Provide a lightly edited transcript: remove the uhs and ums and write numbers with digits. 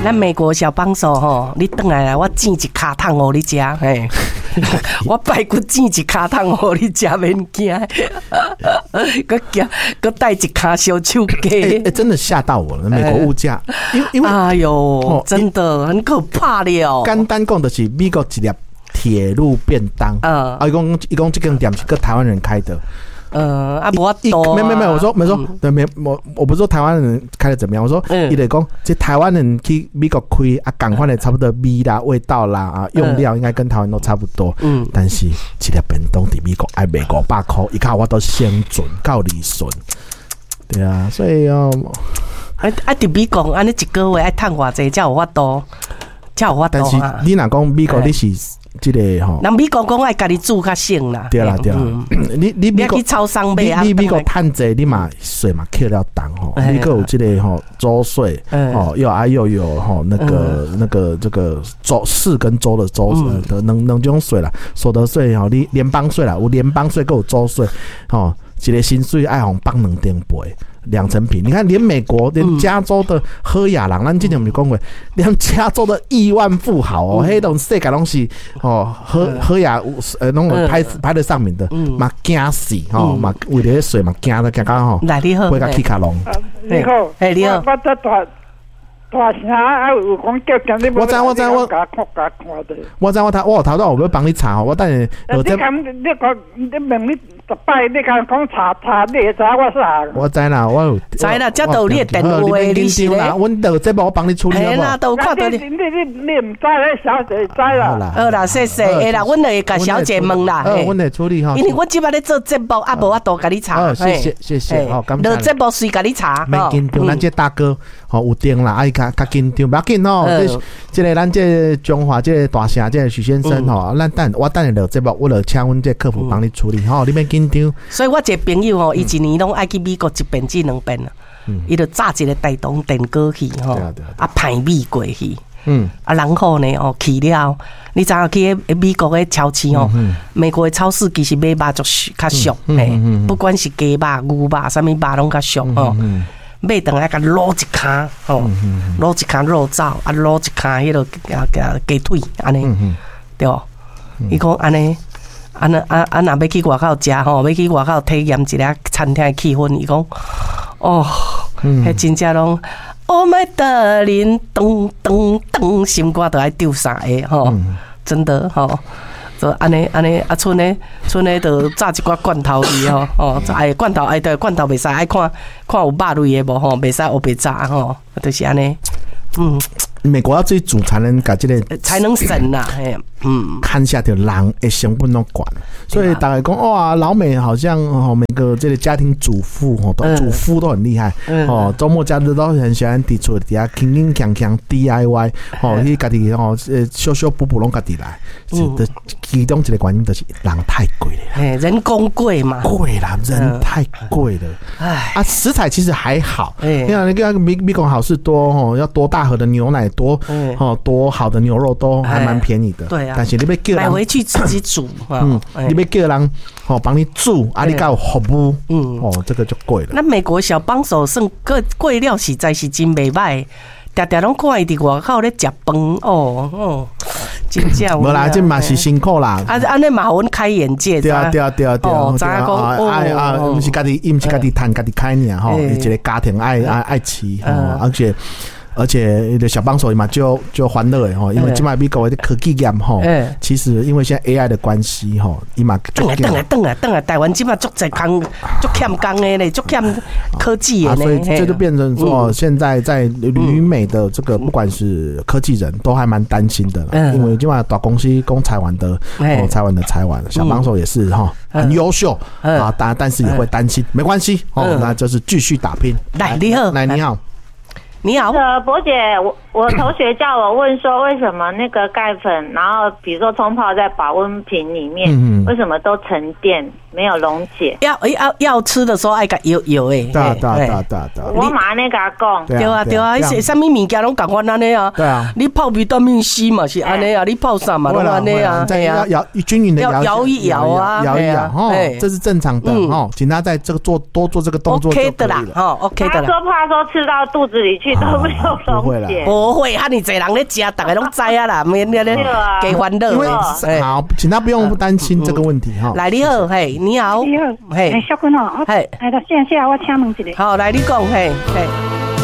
咱美國小幫手吼，你轉來來，我煎一跤桶予你食，嘿，我排骨煎一跤桶予你食，免驚，閣驚閣帶一跤燒手雞。欸，真的嚇到我了！美國物價，因為哎呦，真的很可怕了。簡單講就是美國一粒鐵路便當，啊，伊講這間店是閣台灣人開的。啊，無法度。沒沒沒，我說沒說，對，沒我不是說台灣人開的怎麼樣，我說伊咧講，這台灣人去美國開啊，仝款的差不多味啦、味道啦啊，用料應該跟台灣都差不多。但是一粒便當佇美國愛賣500塊，伊較有法度生存，較有利潤。對啊，所以哦，啊啊！佇美國按呢一個月愛趁偌濟才有法度，才有法度。但是你若講美國，你是這個吼，人美國講愛家己煮較省啦。對啦對啦，你美國去超商買啊，你美國趁濟，你嘛稅嘛扣了重吼，你閣有這個吼州稅，哦又啊又有吼那個這個州市跟州的州的兩種稅啦，所得稅吼，你聯邦稅啦，有聯邦稅閣有州稅，吼一個薪水愛予綁兩層皮。兩層皮，你看，連美國，連加州的好野人，咱之前毋是講過，連加州的億萬富豪哦，彼種世界攏是哦，好好野攏排排得上名的，嘛驚死吼，嘛為著彼稅嘛驚得驚到吼，來你好，會共起跤籠。你好，嘿你好，我這大大聲啊，有講叫你我知我知我，我知我頭我有頭拄有欲幫你查吼，我等下。你講你講你問你逐擺你敢講查查，你會知我啥？我知啦，我有知啦，這都有你的電話，你是咧。阮落節目我幫你處理好無？啦，都有看著你。你毋知咧，小姐知啦。好啦，謝謝。會啦，阮就會共小姐問啦。好，阮會處理吼。因為阮這擺咧做節目，啊，無法度共你查。好，謝謝謝謝，好，感謝。落節目隨共你查。免緊張，咱這大哥吼有定啦，啊伊較較緊張，無要緊吼。這個咱這中華這個大城這個許先生吼，咱等我等下落節目，我就請阮這客服幫你處理吼，你免緊張。所以我一個朋友吼，伊一年攏愛去美國一遍至兩遍啊。伊就炸一個大同電鍋去吼，啊派米過去。啊，然後呢，哦去了，你知影去彼美國的超市吼，美國的超市其實買肉足較俗，嘿，不管是雞肉、牛肉，啥物肉攏較俗吼。買轉來共滷一跤吼，滷一跤肉燥，啊滷一跤彼个雞腿按呢，對無？伊講按呢，按呢啊啊，若欲去外口食吼，欲去外口體驗一下餐廳的氣氛，伊講，哦，彼真正攏，Oh my darling，噔噔噔，心肝都愛丟三下吼，真的吼。就按呢按呢啊，賰呢賰呢，就炸一寡罐頭去吼，哦，哎罐頭哎對，罐頭袂使愛看看有肉類的無吼，袂使烏白炸吼，就是按呢，嗯。美國要自己煮才能共這個才能省啦，嘿，嗯，看下著人的成本攏懸，所以大家講哇，老美好像哦，每個這個家庭主婦吼，都主夫都很厲害，哦，週末假日都很喜歡佇厝底下輕輕鏘鏘 DIY，哦，去家己吼，修修補補攏家己來，是其中一個原因就是人太貴了，嘿，人工貴嘛，貴啦，人太貴了，唉，啊，食材其實還好，你看你看美國好市多吼，要多大盒的牛奶。多哦，多好的牛肉都還蠻便宜的。對啊，但是你欲叫人買回去自己煮，你欲叫人哦幫你煮，啊，你閣有服務，哦，這個就貴了。那美國小幫手算貴貴了，實在是真袂䆀，定定攏看伊佇外口咧食飯，哦哦，真正。無啦，這嘛是辛苦啦。啊，按呢嘛予阮開眼界。對啊，對啊，對啊，對啊。知影講啊啊，毋是家己，伊毋是家己趁，家己開爾吼，一個家庭愛愛愛飼，而且。而且小幫手嘛就歡樂的吼，因為這擺美國的科技業吼，其實因為現在 AI 的關係吼，伊嘛轉來轉來轉來，台灣這擺足濟工，足欠工的咧，足欠科技的咧，所以這就變成說，現在在旅美的這個不管是科技人都還蠻擔心的啦，因為這擺大公司講裁員的，哦裁員的裁員，小幫手也是哈，很優秀啊，但是也會擔心，沒關係哦，那就是繼續打拼。來，你好，來你好。你好，博姐，我同學叫我問說，為什麼那個鈣粉，然後比如說沖泡在保溫瓶裡面，為什麼都沉澱沒有溶解？要吃的時候愛共搖搖的。對對對對對。我嘛按呢共講。對啊對啊，彼啥物物件攏共款按呢啊。對啊。你泡維他命 C 嘛是按呢啊，你泡啥嘛攏按呢啊。對啊。搖均勻的搖搖一搖啊，搖一搖哦，這是正常的哦，請他在這個做多做這個動作就可以了。哦，OK 的啦。他說怕說吃到肚子裡去都沒有溶解。不無會，遐爾濟人咧食，逐个攏知啊啦，免咧咧加煩惱。因為好，請他不用擔心這個問題哈。來，你好，嘿，你好，你好，嘿，小君哦，嘿，來，謝謝，我請問一下。好，來你講，嘿，嘿。